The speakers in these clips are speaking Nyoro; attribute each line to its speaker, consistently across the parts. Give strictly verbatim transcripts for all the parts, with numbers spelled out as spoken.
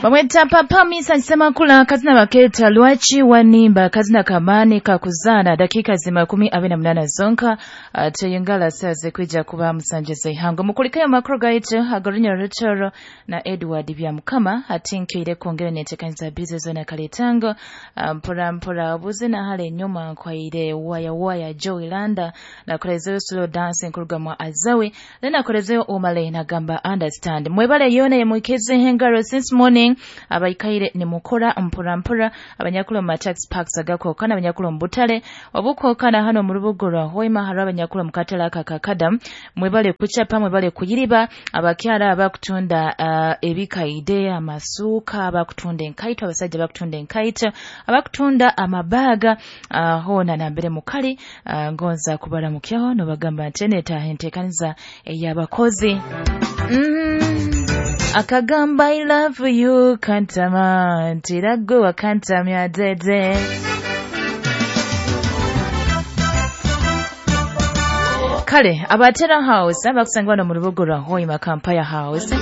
Speaker 1: Bamweta Papa Misa Nsemakula kazina baketa lwaki wanimba kazina kamani kakuzana dakika zimakumi abiri na munana zonka uh, tuyingala saze kwija kuba musanje zeihango mukulikayo makuru gaitu agarunya rutoro na Edward Byamukama atinkire kwongera netekanza bize zona kaletango mpora mpora obuzina hale nyuma nkwaire waya waya Joy Landa na kolezeyo slow dance nkuruga mwa Azawi then kolezeyo Omale na gamba understand mwebale yone yemwikeze hengaro since morning abaikaire ni mukora mpora mpora abanyakula mu tax parks agakokana abanyakula mu butale obukokana hano mu rubugo rwa Hoima hari abanyakula mu katala kakakadam mwebale kuchapa mwebale kuyiriba abakyala abakutunda uh, ebikaide amasuka abakutunda enkaito abasajja bakutunda enkaito abakutunda amabaga uh, hona nambere mukali uh, ngonza kubara mukyaho no bagamba nteneta entekaniza eyabakozi mm. Akagamba I love you kantama ntirago wakantamya dede Kale abatera house abakusangwa no mu rubugo rwa Hoima Kampaya House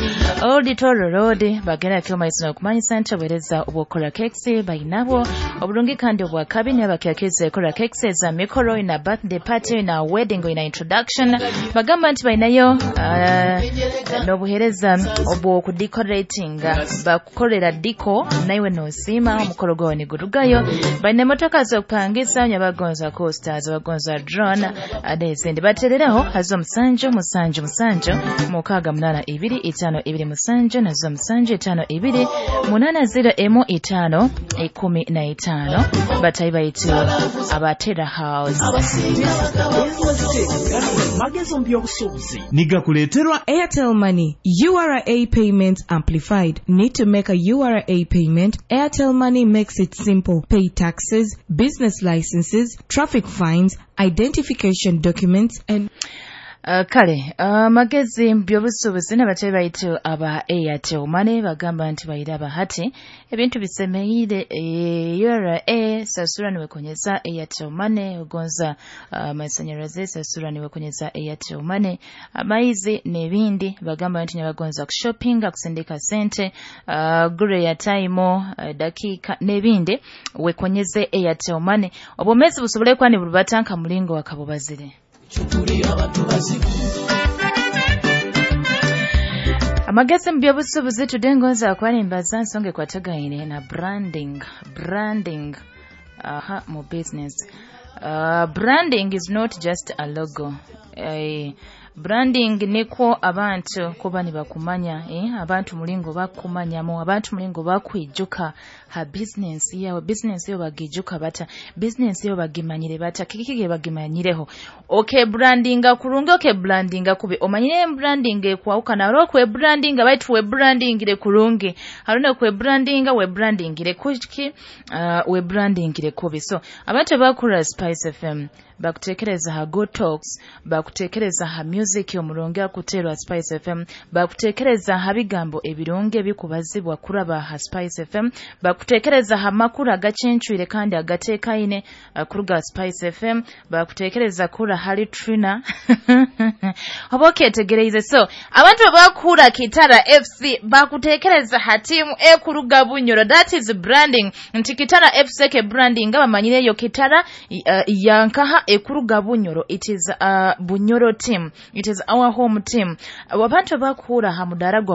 Speaker 1: Old Toro Road bagera kyoma isino kumanyisa ntobereza obukora cakes bayinabo obulungi kandi obwa kabine abakyakeze kora cakes za mikoro ina birthday party ina wedding ina introduction bagamba nti bayinayo uh, nobuhereza obwo ku decorating bakukolera diko naiwe nosima omukoro gwawe ni gurugayo bayina motoka z'okupangisa nyabagonza coasters bagonza drone adezende batereraho hazo musanju musanju musanju mukaga munana ibiri itano ibiri musanju nazo musanju itano ibiri munana zero emu itano ikumi na itano batayi baitu abatera house
Speaker 2: Magezo mbyobusuubuzi
Speaker 3: nigakuleterwa
Speaker 4: Airtel Money U R A payments amplified. Need to make a U R A payment? Airtel Money makes it simple. Pay taxes, business licenses, traffic fines, identification documents and
Speaker 1: Uh, kale uh, magezi mbyobusuubuzi n'abatayi baitu aba Airtel Money bagamba nti bayiraba hati ebintu bisemeire e, U R A sasura niwekonyeza Airtel Money ugonza uh, masanyaraze sasura niwekonyeza Airtel Money amaizi n'ebindi bagamba nti nyabagonza kushoppinga kusindika sente uh, gure ya time uh, dakika n'ebindi wekonyeze Airtel Money obomezi busobole kwani burubatanka mulingo wakabubazire. Amagezi mbyobusuubuzi tudengonza kwalimbaza nsonge kwatagaine na branding branding aha mu business. Uh, branding is not just a logo. Eh, branding niko abantu kuba nibakumanya eh, abantu mulingo bakumanyamo abantu mulingo bakwijuka ha business yawe business yo bagijuka bata business yo bagimanyire bata kikike bagimanyireho okay brandinga kurungi okay brandinga kube omanyire branding kwauka na ro kwe brandinga baitu we brandingire kurungi haruna kwe brandinga we brandingire kuki uh, we brandingire kubi so abantu bakura Spice F M bakutekereza ha Go Talks bakutekereza ha music omurungi akuterwa Spice F M bakutekereza ha bigambo ebirungi bikubazibwa kuraba ha Spice F M bakutekereza ha makuru agacencwire kandi agatekaine kuruga Spice F M bakutekereza kura hali Trina oboketegereze so abantu bakura Kitara F C bakutekereza ha timu ekuruga Bunyoro that is branding nti Kitara F C ke branding abamanyireyo Kitara uh, yankaha ekuruga Bunyoro it is a uh, Bunyoro team it is our home team abantu bakura ha mudara gwa